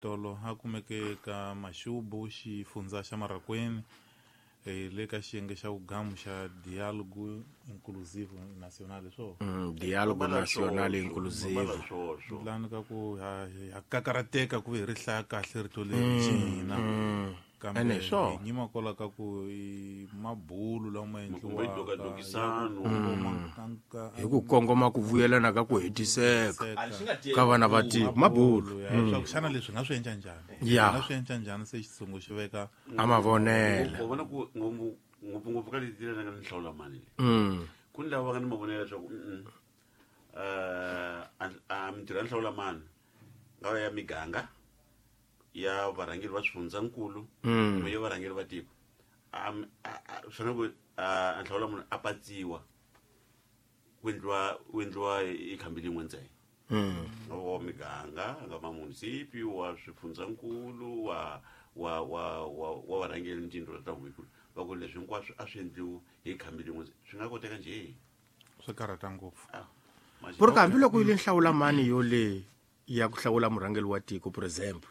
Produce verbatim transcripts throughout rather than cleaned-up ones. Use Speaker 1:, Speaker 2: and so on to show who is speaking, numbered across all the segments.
Speaker 1: Tolo a kumeke ka Maxubu xifundza xa Marracuene eh, le ka xiyenge xa vugamu xa Diálogo Inclusivo Nacional swo
Speaker 2: Mm, Diálogo Nacional Inclusivo.
Speaker 1: Lani ka ku ha ha kakarateka ku hi ri hlaya kahle rito leri xihina kambe
Speaker 2: Ene swo.
Speaker 1: hi nyima kwala ka ku i mabulu lama
Speaker 3: Kumbe
Speaker 1: endliwaka
Speaker 3: dokadokisano.
Speaker 2: Hi ku kongoma ku vuyelana ka ku hetiseka ka vana va tiko mabulu
Speaker 1: ya leswaku xana leswi nga swi endla njhani
Speaker 2: Ya.
Speaker 1: nga swi endla njhani se xitshungu xi veka
Speaker 2: a mavonelo
Speaker 3: u vona ku ngopfu ngopfungopfu ka leti nga ni hlawula mani leyi
Speaker 2: Mm.
Speaker 3: ku ni lava va nga ni mavonelo leswaku mm a mintirho ya nhlawula mani nga va ya miganga ya varhangeri va swifundzankulu kumbe ya varhangeri va tiko A- a- a- swi fanele ku a nhlawula munhu a patsiwa ku endliwa ku endliwa hi khambi lin'we ntsena
Speaker 2: Mm.
Speaker 3: nga va wa miganga nga va munisipi wa swifundzankulu wa wa wa wa wa varhangeri ni tindlu ta huvikulu va ku leswi hinkwaswo a swi endliwi hi khambi lin'we swi nga koteka njhe
Speaker 1: swi karhata ngopfu
Speaker 3: Ah, manje-
Speaker 2: Por hambiloko yi le nhlawula mani yo le ya ku hlawula murhangeri wa tiko for example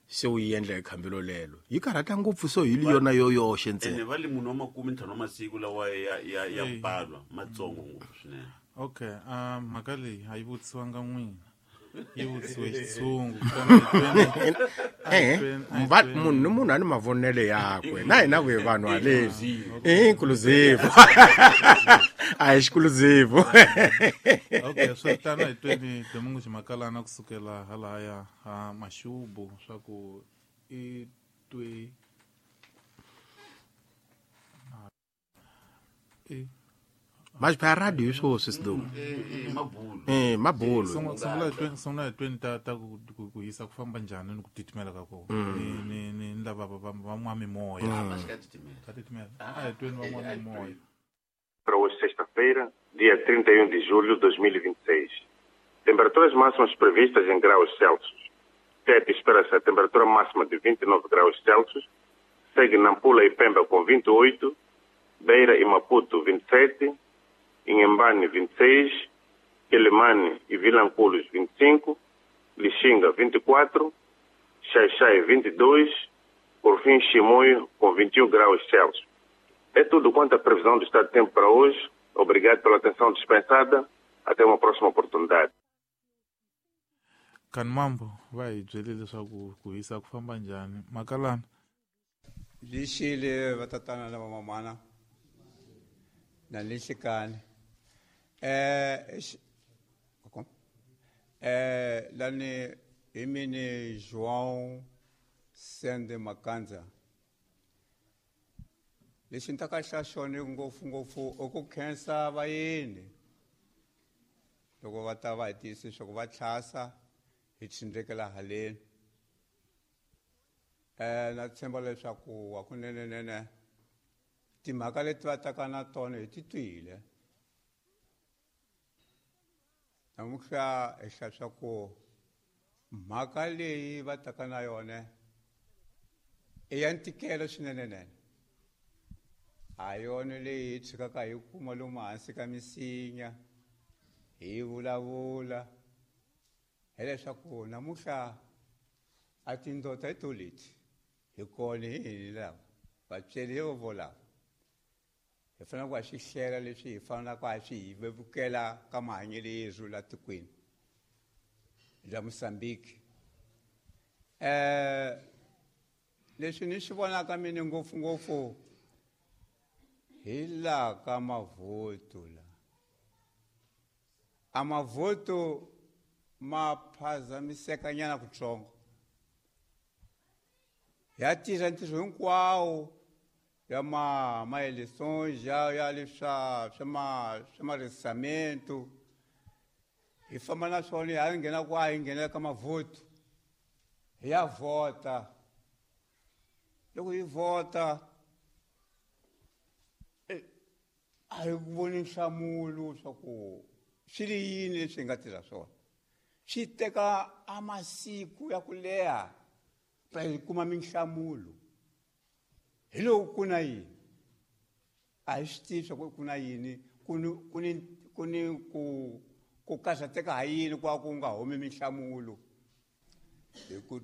Speaker 2: se u yi endla hi khambelo lelo yi karhata ngopfu so hi li yona yo yoxe
Speaker 3: ene
Speaker 2: ntsena
Speaker 3: va le munhu wa makume ntlhanu wa masiku lawa ya ya ya
Speaker 1: Eyi.
Speaker 3: balwa matsongo ngopfu swinene
Speaker 1: okay um mhaka leyi a yi vutisiwanga n'wina yi vutisiwe xitshungu kutani hi tweni- a hi
Speaker 2: Eh,
Speaker 1: tweni- a hi
Speaker 2: va-
Speaker 1: tweni.
Speaker 2: munhu ni munhu a ni mavonelo yakwe na hina ku hi vanhu haleni inclusive a hi exclusive
Speaker 1: okay swi tano hi tweni Domingo Ximakalana kusukela halahaya ha Maxubu swa ku i twe i
Speaker 2: maxipha ya radio hi swoswi sidumo
Speaker 3: mabulu
Speaker 2: eh mabulu
Speaker 1: sungula sungula hi tweni sungula hi tweni ta ta ku ku- ku hisa ku famba njhani ni ku titimela ka kona ni ni ni ni lava va va va mimoya ka titimela a hi tweni van'wa mimoya
Speaker 4: Para hoje, sexta-feira, dia trinta e um de julho de dois mil e vinte e seis. Temperaturas máximas previstas em graus Celsius. Tete espera-se a temperatura máxima de vinte e nove graus Celsius. Segue Nampula e Pemba com vinte e oito, Beira e Maputo vinte e sete, Inhambane vinte e seis, Quelimane e Vilanculos vinte e cinco, Lixinga vinte e quatro, Xai-Xai vinte e dois, por fim Chimoio com vinte e um graus Celsius. É tudo quanto à previsão do estado de tempo para hoje. Obrigado pela atenção dispensada. Até uma próxima oportunidade.
Speaker 1: Kanmambo va hi byele leswaku ku hisa ku famba njhani Makalana
Speaker 5: Lixile vatatana na vamamana na lixikani eh eh lani hi mini João Sende Makanza lexi ni ta ka xa xona ngopfungopfu i ku khensa vayeni loko va ta va hi tiyisisa leswaku va tlhasa hi tshindrekela haleni eh na tshemba leswaku hakunenenene timhaka leti va taka na tona hi ti twile namuntlha hi hlaya swa ku mhaka leyi va taka na yona i ya ntikelo swinenenene a yona leyi hi tshikaka hi kuma lomu hansi ka misinya hi vulavula hileswaku namuntlha a tindota hi to leti hi kona hi hini lava vatsweri hi vo lava hi fanele ku ha swi hlela leswi hi fanelaka ha swi hi vevukela ka mahanyelo yerhu la tikweni la Mozambique eh leswi ni swi vonaka mina ngopfungopfu hi laha ka mavhoto la a mavhoto ma phazamisekanyana kutsongo ya tirha ntirho hinkwawo ya ma ma-elections ya ya leswa swa ma swa marisamento hi famba na swona hi nghena ku a hi nghena ka mavhoto hi ya vhota loko hi vhota a hi voni nhlamulo swa ku swi ri yini leswi hi nga tirha swona swi teka a masiku ya ku leha pa hi kuma minhlamulo hi loko ku na yini a hi swi tivi swa ku ku na yini ku ni ku ni ku ni ku ku karhateka ha yini ku va ku nga humi minhlamulo
Speaker 6: hi ku